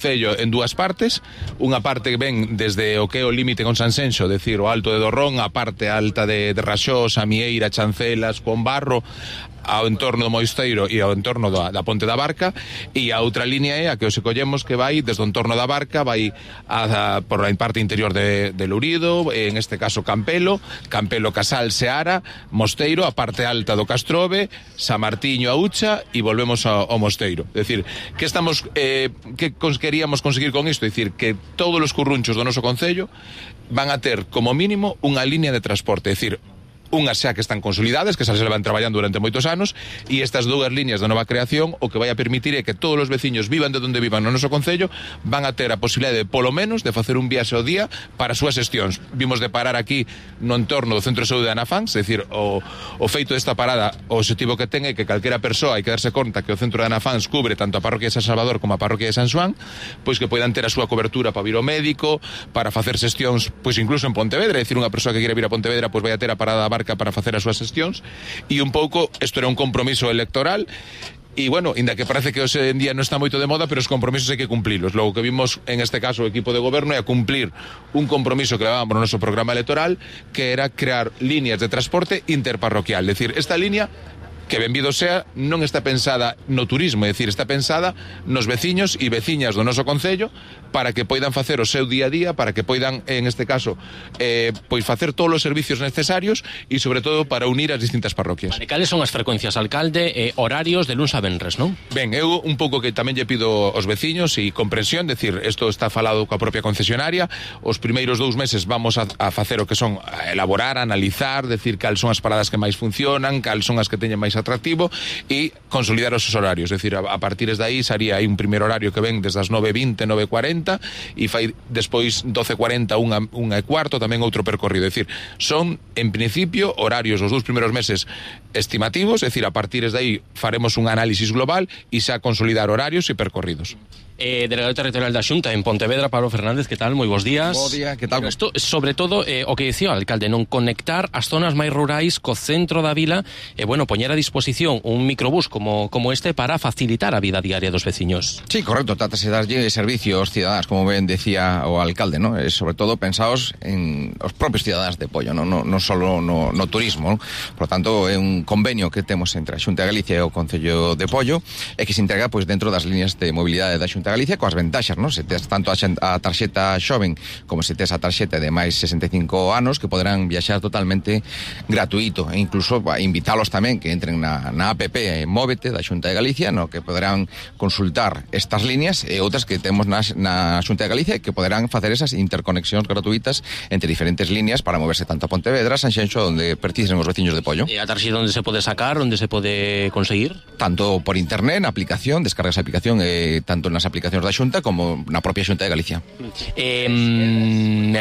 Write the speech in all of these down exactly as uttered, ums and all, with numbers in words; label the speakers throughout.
Speaker 1: Cello en dúas partes, unha parte que ven desde o que é o límite con Sanxenxo, decir, o Alto de Dorrón, a parte alta de, de Raxós, a Mieira, Chancelas, con Barro, ao entorno do Moisteiro e ao entorno da, da Ponte da Barca, e a outra línea é a que os collemos que vai desde o entorno da Barca, vai a, a, por a parte interior de, de Lourido, en este caso Campelo, Campelo, Casal, Seara, Mosteiro, a parte alta do Castrove, San Martiño, a Ucha, e volvemos ao, ao Mosteiro. É dicir, que estamos, eh, que queríamos conseguir con isto? É dicir, que todos os currunchos do noso concello van a ter como mínimo unha línea de transporte, é dicir, unhas xa que están consolidadas, que xa se levan traballando durante moitos anos, e estas dúas líneas de nova creación o que vai a permitir é que todos os veciños vivan de onde vivan no noso concello van a ter a posibilidade de, polo menos, de facer un viaxe ao día para as súas xestións. Vimos de parar aquí no entorno do Centro de Saúde de Anafans, é dicir, o, o feito desta parada, o objetivo que ten é que calquera persoa hai que darse conta que o Centro de Anafans cubre tanto a parroquia de San Salvador como a parroquia de San Xoán, pois que poidan ter a súa cobertura para vir ao médico, para facer xestións, pois incluso en Pontevedra, é dicir, unha persoa que quere vir a Pontevedra pois vai a ter a parada da Barca para facer as súas xestións, e un pouco isto era un compromiso electoral. E, bueno, inda que parece que hoxe en día non está moito de moda, pero os compromisos hai que cumplilos. Logo que vimos, en este caso, o equipo de goberno é a cumplir un compromiso que levábamos no noso programa electoral, que era crear líneas de transporte interparroquial. É dicir, esta línea, que benvido sea, non está pensada no turismo, é dicir, está pensada nos veciños e veciñas do noso concello para que poidan facer o seu día a día, para que poidan, en este caso, eh, pois facer todos os servicios necesarios e, sobre todo, para unir as distintas parroquias.
Speaker 2: Vale, cales son as frecuencias, alcalde, eh, horarios de luns a venres, non?
Speaker 1: Ben, eu un pouco que tamén lle pido aos veciños e comprensión, decir, isto está falado coa propia concesionaria, os primeiros dous meses vamos a, a facer o que son a elaborar, a analizar, decir cal son as paradas que máis funcionan, cal son as que teñen máis atractivo, e consolidar os horarios, é dicir, a, a partir de aí sería aí un primer horario que ven desde as nove e vinte, nove e cuarenta, e fai despois doce e cuarenta, unha, unha e cuarto, tamén outro percorrido, é dicir, son en principio horarios os dous primeiros meses estimativos, é dicir, a partir de aí faremos un análisis global e xa consolidar horarios e percorridos.
Speaker 2: Eh, delegado territorial da Xunta en Pontevedra, Pablo Fernández, que tal? Moi bons días.
Speaker 3: Bo día, que tal?
Speaker 2: Bueno, esto, sobre todo, eh, o que dicía o alcalde, non conectar as zonas máis rurais co centro da vila e, eh, bueno, poñer a disposición un microbús como, como este para facilitar a vida diaria dos veciños.
Speaker 3: Sí, correcto, trátase de darlle servicio aos cidadáns, como ben decía o alcalde, ¿no? E sobre todo pensaos en os propios cidadáns de Pollo, non no, no solo no, no turismo, ¿no? Por lo tanto, é un convenio que temos entre a Xunta de Galicia e o Concello de Pollo e que se integra pois dentro das líneas de mobilidade da Xunta Galicia coas ventaxas, non? Se tes tanto a, a tarxeta xoven como se tes a tarxeta de máis sesenta e cinco anos que poderán viaxar totalmente gratuito e incluso a invitálos tamén que entren na, na app Móvete da Xunta de Galicia, no que poderán consultar estas líneas e outras que temos na, na Xunta de Galicia que poderán facer esas interconexións gratuitas entre diferentes líneas para moverse tanto a Pontevedra, Sanxenxo, onde precisen os veciños de Pollo.
Speaker 2: E a tarxeta onde se pode sacar, onde se pode conseguir?
Speaker 3: Tanto por internet, na aplicación, descargas a aplicación eh, tanto nas aplicacións da Xunta como na propia Xunta de Galicia.
Speaker 2: Eh,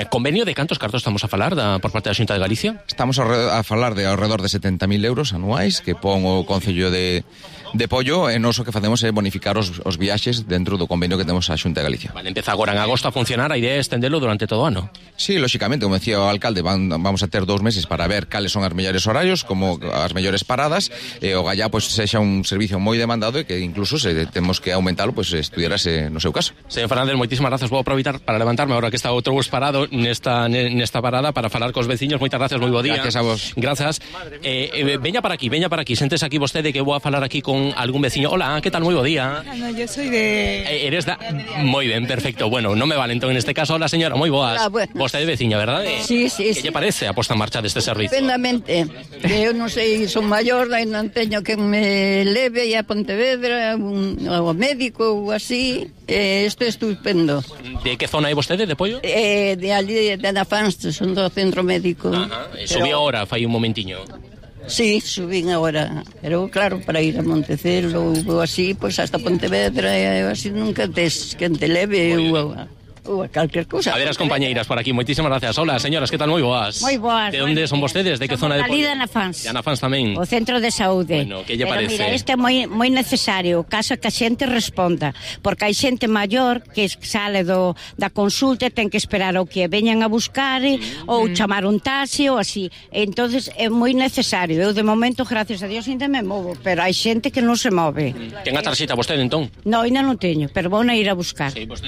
Speaker 2: convenio de cantos cartos estamos a falar da, por parte da Xunta de Galicia?
Speaker 3: Estamos a, a falar de alrededor de setenta mil euros anuais que pon o Concello de, de Pollo e noso que facemos é bonificar os, os viaxes dentro do convenio que temos a Xunta de Galicia.
Speaker 2: Vale, empeza agora en agosto a funcionar, a idea é estendelo durante todo o ano.
Speaker 3: Sí, lóxicamente, como decía o alcalde, van, vamos a ter dous meses para ver cales son as mellores horarios, como as mellores paradas, e o gallá pois sexa un servicio moi demandado e que incluso se temos que aumentalo, pois estudiarase no seu caso.
Speaker 2: Señor Fernández, moitísimas grazas. Vou aproveitar para levantarme agora que está outro bus parado nesta, nesta parada para falar cos veciños. Moitas gracias, moi bo día.
Speaker 3: Gracias a vos.
Speaker 2: Grazas. Eh, eh, veña para aquí, veña para aquí. Sentes aquí vostede que vou a falar aquí con algún veciño. Hola, que tal? Moi bo día.
Speaker 4: No, yo soy de...
Speaker 2: Eh, eres da... Moi ben, perfecto. Bueno, non me vale entón en este caso. Hola, señora, moi boas.
Speaker 4: Hola, bueno.
Speaker 2: Vostede veciña, verdade?
Speaker 4: Sí, sí,
Speaker 2: que
Speaker 4: sí.
Speaker 2: lle parece a posta en marcha deste servicio?
Speaker 4: Estupendamente. Eu non sei, son maior, e non teño que me leve a Pontevedra, un, ao médico ou así. Eh, isto é estupendo.
Speaker 2: De que zona é vostede, de Pollo?
Speaker 4: Eh, de ali, de Anafans, son do centro médico.
Speaker 2: Ajá. Subí agora, fai un momentiño.
Speaker 4: Sí, subín agora, pero claro, para ir a Montecelo ou así, pois pues hasta Pontevedra, e así nunca tes que te leve ou... ou a calquer cousa.
Speaker 2: A ver as compañeiras por aquí, moitísimas gracias. Hola, señoras, que tal? Moi boas.
Speaker 5: Moi boas.
Speaker 2: De onde son vostedes? De que zona de
Speaker 5: Ali
Speaker 2: Pollo?
Speaker 5: de Anafans.
Speaker 2: De Anafans tamén.
Speaker 5: O centro de saúde.
Speaker 2: Bueno, que lle
Speaker 5: Pero
Speaker 2: parece?
Speaker 5: mira, este é moi, moi necesario, caso que a xente responda, porque hai xente maior que sale do, da consulta e ten que esperar o que veñan a buscar mm. ou chamar un taxi ou así. Entonces é moi necesario. Eu de momento, gracias a Dios, ainda me movo, pero hai xente que non se move.
Speaker 2: Ten a tarxeta vostede, entón?
Speaker 5: No, ainda non teño, pero vou na ir a buscar.
Speaker 2: Sí, vostede